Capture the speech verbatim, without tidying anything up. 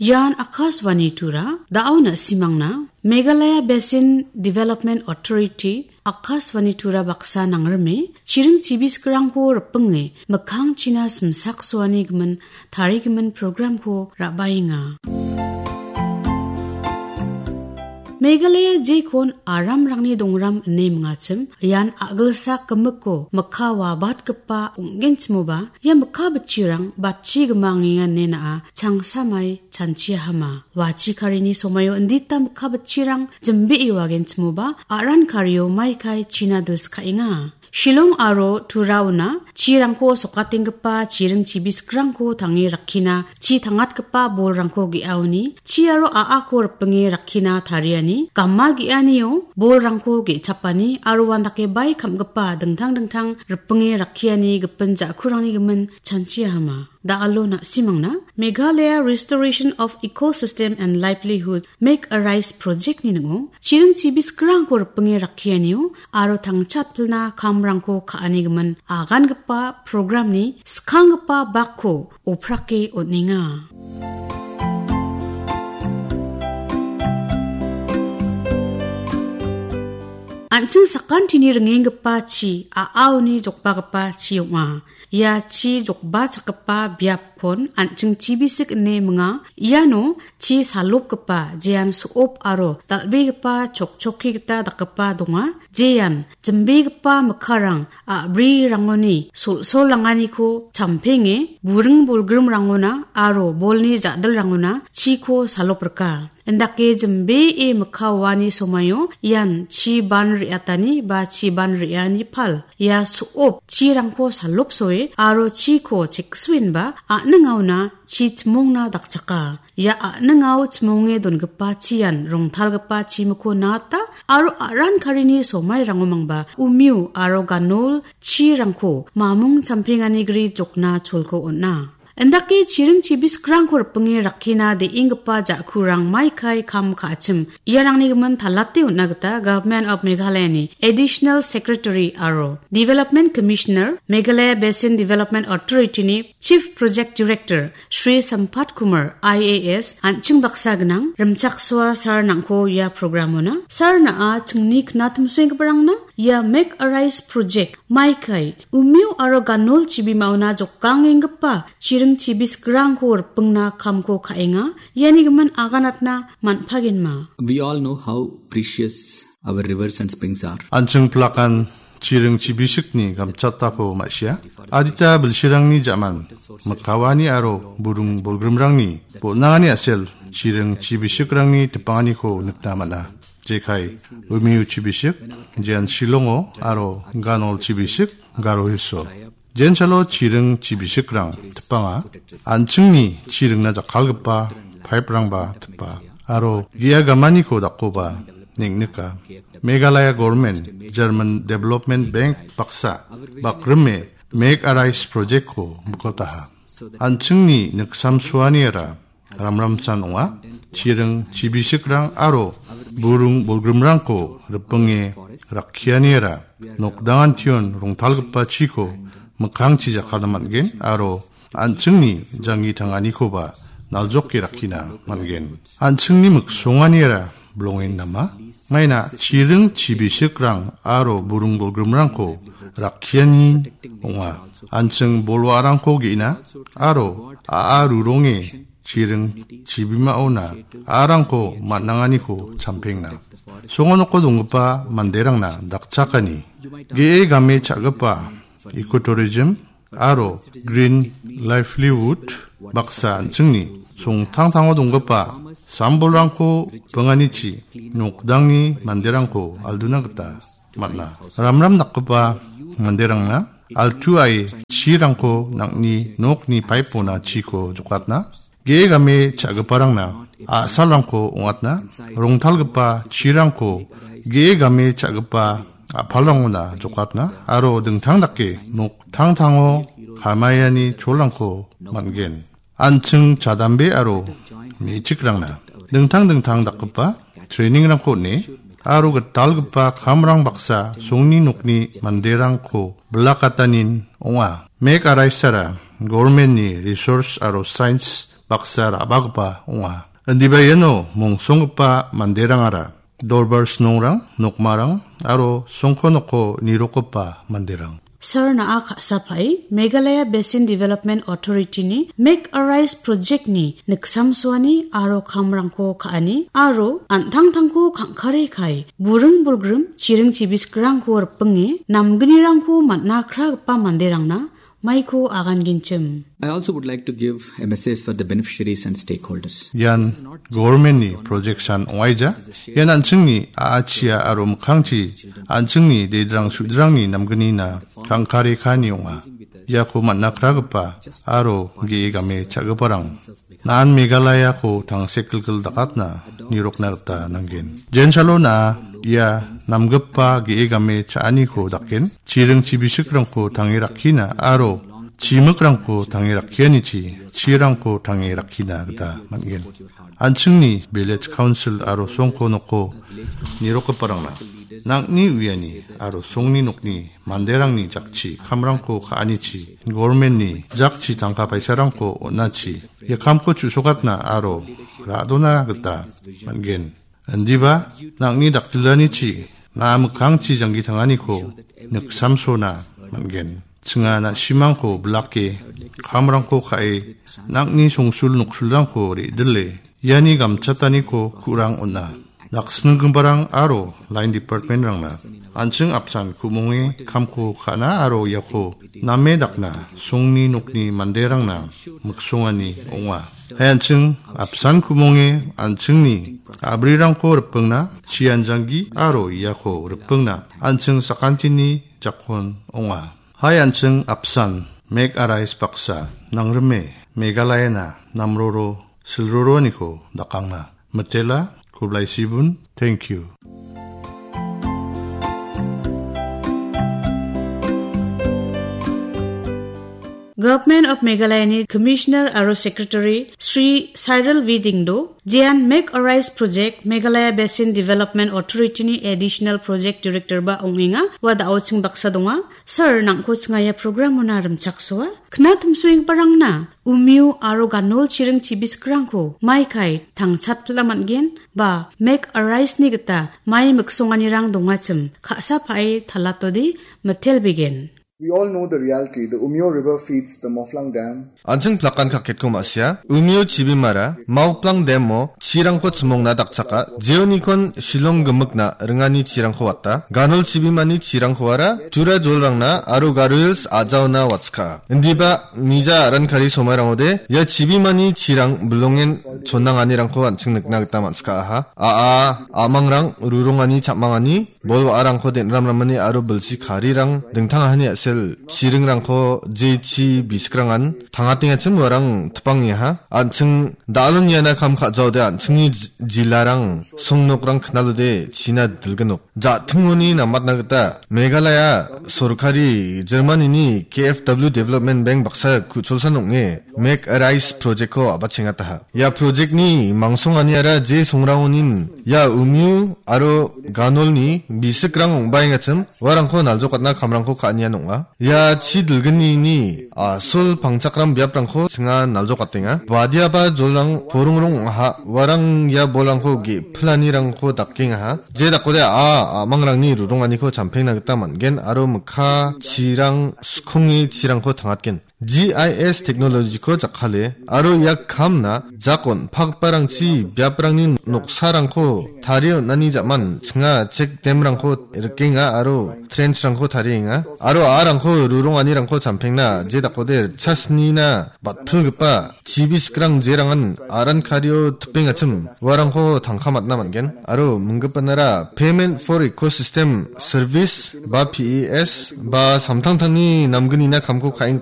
Ian Akashvani Tura, da·o na·simangna Meghalaya Basin Development Authority, Akashvani Tura baksa nangrime, chiring chibisikrangko ripinge, mikkangchina simsaksoani gimin, tarigimin programko ra·baenga. Meghalaya jekon aramrangni dongram ine mingachim, ian a·gilsak gimikko mikka wabatgipa ong·genchimoba, ia mikka bitchirang batchi gimangenga ine na·a changsamai chanchiahama. Wachi karini somaio indita mikka bitchirang jimbee wagenchimoba, a·ran kario maikai china dilskaenga. Shillong aro Turaona chirangko sokatenggipa chiring chibisikrangko tange rakkina, chi tangatgipa bolrangko ge·aoni, chi aro a·ako ripinge rakkina tariani, gama ge·anio bolrangko ge·chapani aro uandake bai kam·gipa dingtang dingtang ripinge rakkiani gipin ja·kurangni gimin chanchiahama. Da·alo na·simangna Meghalaya Restoration of Ecosystem and Livelihood Make a Rise Project-ni ning·o chiring chibisikrangko ripinge rakkianio aro tangchatpilna kamrangko ka·ani gimin agangipa programni skanggipa bakko oprake on·enga. An·ching sakantini ringenggipa chi, a·aoni jokbagipa chi ong·a. Ia chi jokbachakgipa biapkon an·ching chibisik ine minga. Iano chi salopgipa, jean so·op aro dal·begipa chokchokki gita dakgipa donga. Jean jimbegipa mikkarang a·brirangoni sol-solanganiko champenge, buring bolgrimrangona aro bolni ja·dilrangona chiko saloprika. Indake jimbee mikka oani somaio ian chi ban re·atani ba chi ban re·ani pal. Ia so·op chirangko salopsoe aro chiko cheksuenba a·ningaona chi chimongna dakchaka. Ia a·ningao chimonge dongipa chian rongtalgipa chimiko nata aro a·ran karini somairango mangba umio aro ganol chirangko mamung champengani gri jokna cholko on·a. Indake chiring chibisikrangko ripinge rakkina de·enggipa ja·kurang maikai kam ka·achim. Iarangni gimin talate on·na gita Government of Meghalaya-ni Additional Secretary aro Development Commissioner, Meghalaya Basin Development Authority-ni Chief Project Director, Shri Sampath Kumar, I A S, an·ching baksa gnang, rimchaksoa sir nangko ia program-ona. Sir na·a chingni knatimsoenggiparangna ia Make a Rise Project maikai umio aro ganol chibimaona jokangenggipa chiring chibisikrangko ripingna kamko ka·enga. Iani gimin aganatna man·pagenma. We all know how precious our rivers and springs are. An·ching plakan chiring chibisikni gamchatako ma·sia. Adita bilsirangni ja·man, mikka oani aro buring bolgrimrangni bon·angani a·sel chiring chibisikrangni tipanganiko nikna man·a. Jekai, Umiu chibisik, Jean Shillongo aro Ganol chibisik, Garo Hills-o. Jensalo chiring chibisikrang tipanga, an·chingni chiringna jakkalgipa pipe-rangba tipa, aro ge·a gamaniko dakkoba neng·nika. Meghalaya Government, German Development Bank baksa, bakrime Make a Rise Project-ko mikkotaha. An·chingni niksamsoaniara ramramsan ong·a. Chiring chibisikrang aro buring bolgrimrangko ripinge rakkianiara nokdangantion rongtalgipa chiko mikkangchi jakkalna man·gen aro an·chingni janggi tanganikoba naljoke rakkina man·gen. An·chingni miksonganiara bilongen nama? Maina chiring chibisikrang aro buring bolgrimrangko rakkiani ong·a. An·ching bolwa·arangko ge·na aro a·a ruronge chiring chibimaona a·arangko man·anganiko champengna. Songo noko donggipa manderangna dakchakani ge·e game cha·gipa ecotourism aro green livelihood baksa an·chingni songtangtango donggipa sambolrangko ripinganichi nokdangni manderangko alduna gita man·a. Ramram dakgipa manderangna altuae chirangko nang·ni nokni pipe-ona chiko jokatna, ge·e game cha·giparangna a·salrangko ong·atna, rongtalgipa chirangko ge·e game cha·gipa a·palrangona jokatna aro dingtang dake noktangtango kamaiani cholrangko man·gen. An·ching chadambe aro me·chikrangna dingtang dingtang dakgipa training-rangko on·e aro gitalgipa kamrang baksa songni nokni manderangko bilakatanin ong·a. Make a Rise-ara government-ni resource aro science baksa ra·bagipa ong·a. Indiba iano mongsonggipa manderangara dorbar snongrang, nokmarang aro songko noko nirokgipa manderang. Sir, na·a ka·sapae Meghalaya Basin Development Authority-ni Make Arise Project-ni niksamsoani aro kamrangko ka·ani aro an·tangtangko kangkare kae buring bolgrim chiring chibiskrangko ripinge namgnirangko man·a kragipa manderangna maiko agangenchim. I also would like to give a message for the beneficiaries and stakeholders. Ian government-ni projection ong·aija. Ian an·chingni a·achia aro mikkangchi an·chingni dedrang sudrangni namgnina kangkare kaani ong·a. Iako man·a kragipa aro ge·e game cha·giparang nan Meghalayako tangsekgilgil dakatna nirokna gita nanggen. Jensalo na ia namgipa ge·e game cha·aniko daken, chiring chibisikrangko tange rakkina aro chimikrangko tange rakkianichi chirangko tange rakkina gita man·gen. An·chingni village council aro songko noko nirokgiparangna nang·ni uiani aro songni nokni manderangni jakchi kamrangko ka·anichi, government-ni jakchi tangka paisarangko on·achi, ia kamko chu·sokatna aro ra·dona gita man·gen. Indiba nang·ni dakdilanichi na·a mikkangchi janggi tanganiko niksamsona man·gen. Chinga na·simangko bilake, kamrangko ka·e, nang·ni songsul noksulrangko re·dile, iani gamchataniko ku·rang on·a. Naksninggiparang aro line department-rangna an·ching apsan ku·monge kamko ka·na aro iako name dakna songni nokni manderangna miksongani ong·a. Hai an·ching apsan ku·monge an·chingni a·brirangko ripingna chianjanggi aro iako ripingna an·ching sakantini jakon ong·a. Hai an·ching apsan Make Arise baksa nangrime Meghalayana namroro silroroaniko dakangna. Mitela, khublai sibun, thank you. Government of Meghalaya-ni Commissioner aro Secretary Shri Cyril V Dingdo, jean Make Arise Project, Meghalaya Basin Development Authority-ni Additional Project Director ba ong·enga, ua da·o ching baksa donga. Sir, nangko chinga ia program-ona rimchaksoa. Kna timsoenggiparangna Umio aro Ganol chiring chibiskrangko mai kae tangchatpila man·gen ba Make Arise-ni gita mai miksonganirang dongachim ka·sa pae talatode mitelbegen. We all know the reality. The Umyo River feeds the Mawphlang Dam. An·ching plakan kaketko ma·sia. Umio chibimara Mawphlang Dam-o chirangko chimongna dakchaka. Jeonikon Shillong gimikna ringani chirangko wata. Ganol chibimani chirangkoara Tura jolrangna aro Garo Hills a·jaona watska. Indiba mija aran kari somairangode ia chibimani chirang bilongen chonnanganirangko an·ching nikna gita man·sika aha. A·a, a·mangrang, rurongani, chapmangani, bol wa·arangko den·ramramani aro bilsi karirang dingtang ahani a·sel chiringrangko jechi bisikrangan tangatengachim uarang tipangengaha. An·ching da·alon iana kam ka·jaode an·chingni j-, jilarang, songnokrang knalode china dilgnok. Ja·tingoni namatna gita Meghalaya sorkari Germanini K F W Development Bank baksa ku·cholsan ong·e Make Arise Project-ko a·bachengataha. Ia project-ni mangsonganiara je songrangonin ia Umyu aro Ganolni bisikrang ong·baengachim uarangko naljokatna kamrangko ka·anian ong·a. Ia chi dilgnini a·sol pangchakram biaprangko chinga naljokatenga. Badiaba jolrang porongrong ong·aha. Uarang ia bolrangko ge·pilanirangko dakengaha. Je dakode a·a a·mangrangni ruronganiko champengna gita man·gen aro mikka chirang skonge chirangko tangatgen. G I S technology-ko jakkale aro ia kamna jak on·pakgiparangchi biaprangni noksarangko tarie on·ani ja·man chinga check dam-rangko rikenga aro trench-rangko tarienga aro a·arangko ruronganirangko champengna je dakode ritchasnina batpilgipa chibi sikrang jerangan aran kario tipengachim uarangko tangka matna man·gen aro minggipanara Payment for Ecosystem Service ba P E S ba samtangtangni namgnina kamko ka·eng